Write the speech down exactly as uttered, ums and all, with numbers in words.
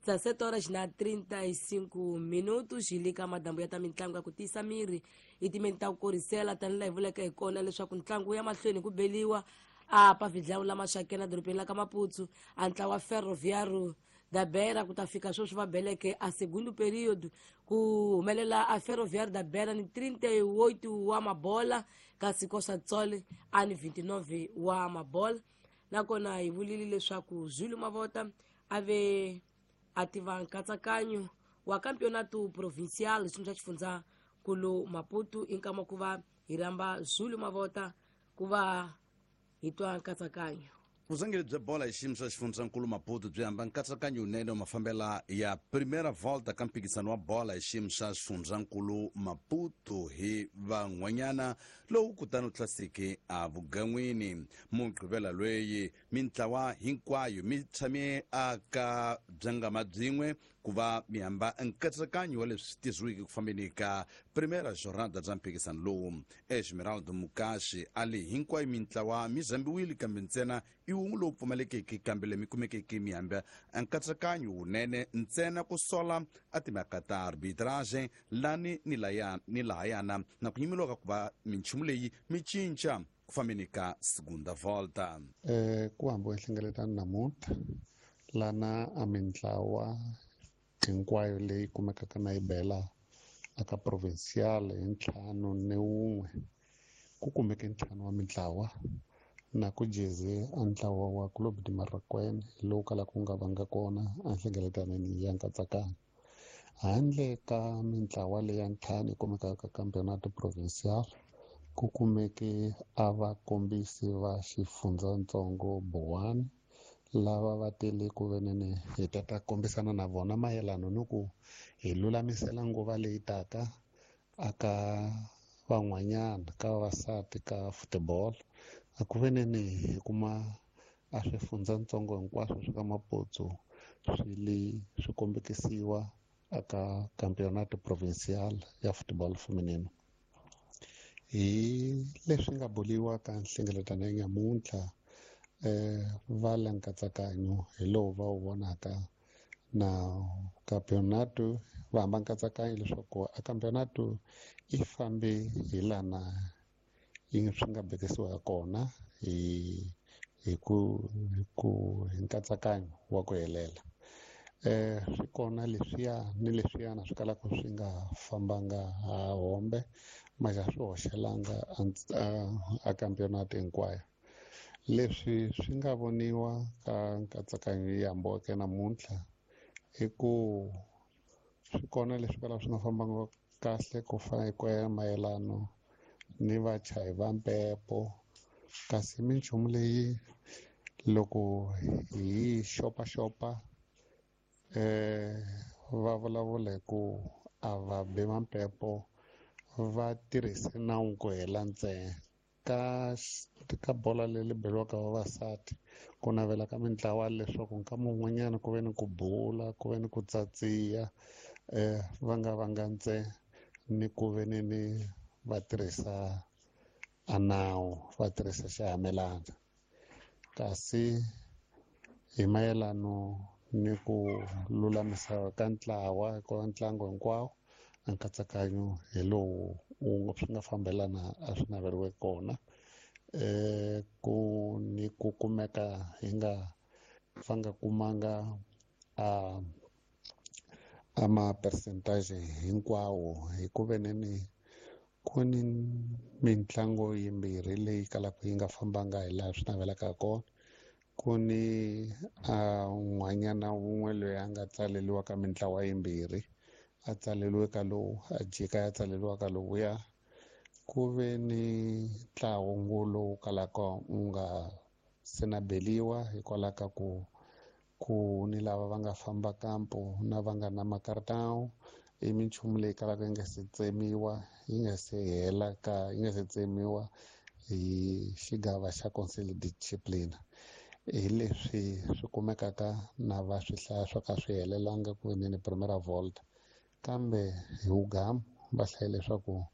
dezessete horas na trinta e cinco minutos hi le ka madambu ya ta mitlangu ya ku tiyisa miri hi timeni ta ku korisela tanihi laha hi vuleke hi kona leswaku ntlangu ya mahlweni ku beliwa a pavidlawu lama xakena dorobeni la ka Maputo a ntlawa Ferroviário da Beira ku ta fika sweswi va beleke a segundo período ku humelela a Ferroviário da Beira ni trinta e oito wa mabola kasi Costa do Sol a ni vinte e nove wa mabola. Nakona hi vulile leswaku Zulu Mavota a ve a tiva nkatsakanyo wa campeonato provincial xiyimo xa xifundzankulu Maputo i nkama ku va hi rhamba Zulu Mavota ku va hi twa nkatsakanyo. Vuzangeri bya bola hi xiyimo xa xifundzankulu Maputo byi hamba nkatsakanyo wunene wa mafambela ya primera volta ka mphikizano wa bola hi xiyimo xa xifundzankulu Maputo hi van'wanyana lowu kutani wu tlaseke evugan'wini. Mugqivela lweyi mintlawa hinkwayo mi tshame aka byangama byin'we ku va mi hamba nkatsakanyo wa leswi tisiweke ku fambeni ka primera jornada bya mphikizano lowu. Esmeraldo Mukashi a li hinkwayo mintlawa mi zambiwile kambe ntsena i wun'we lowu pfumalekeke kambe leyi mi kumekeke mi hamba nkatsakanyo wunene ntsena ku sola a timhaka ta arbitrage lani ni laya ni lahayana na ku nyimeliwa ka ku va minchumu leyi mi cinca ku fambeni ka segunda volta. Eh ku hambiwe nhlengeletano namuntlha lana a mintlawa hinkwayo leyi kumekaka na yi bela aka provincial hi ntlhanu ni wun'we ku kumeke ntlhanu wa mintlawa na ku jeze a ntlawa wa Clube de Marraquene lowu kalaka wu nga vanga kona a nhlengeletanweni ya nkatsakanyo. Handle ka mintlawa leya ntlhanu yi kumekaka ka campeonato provincial ku kumeke a vakombisi va xifundzatsongo Boane lava va tele ku venene hi ta ta kombisana na vona mayelana ni ku hi lulamisela nguva leyi taka aka van'wanyana ka vavasati ka football. A ku venene hi kuma a swifundzatsongo hinkwaswo swa ka Maputo swi le swi kombekisiwa aka campeonato provincial ya football feminino. Hi leswi nga boliwa ka nhlengeletano ya nyamuntlha eh va le nkatsakanyo hi lowu va wu vonaka na campeonato va hamba nkatsakanyo leswaku a campeonato yi fambe hi lana yi swi nga bekisiwa kona hi hi ku hi ku hi nkatsakanyo wa ku helela. Eh swi kona leswiya ni leswiyana swi kalaka swi nga fambanga ha hombe maxa swi hoxelanga a, a campeonato hinkwayo. Leswi swi nga voniwa ka nkatsakanyo yi hambiweke namuntlha i ku swi kona leswi kalaka swi nga fambanga kahle ku fana hi ku ya mayelano ni vachayi va mpepo kasi minchumu leyi loko hi xopaxopa eh va vulavula hi ku a va bi mampepo va tirhise nawu ku hela ntsena. Ka ka bola leyi beriwaka vavasati ku navela ka mintlawa leswaku nkama wun'wanyana ku ve ni ku bula ku ve ni ku tsatsiya eh va nga vanga ntsena ni ku ve ni ni va tirhisa a nawu va tirhisa xihamelana. Kasi hi mayelano ni ku lulamisa ka ntlawa ka ntlangu hinkwawo a nkatsakanyo hi lowu wu swi nga fambelana a swi naveriwe kona eh ku ni ku kumeka hi nga va nga kumanga a a ma percentage hinkwawo hi ku veneni ku ni mintlango yimbirhi leyi kalaka yi nga fambanga hi laha swi navelaka kona. Ku ni a n'wanyana wun'we loyi a nga tsaleriwa ka mintlawa yimbirhi a tsaleriwe ka lowu a jika ya tsaleriwa ka lowuya. Ku ve ni ntlawa lowu kalaka wu nga se na beliwa hikwalaho ka ku ku ni lava va nga famba kampo na va nga na makartawu i minchumu leyi kalaka yi nga se tsemiwa yi nga se hela ka yi nga se tsemiwa hi xigava xa Conseil de Discipline. Hi leswi swi kumekaka na va swi hlaya swo ka swi helelanga ku veneni primera volta kambe hi wugamu va hlaye leswaku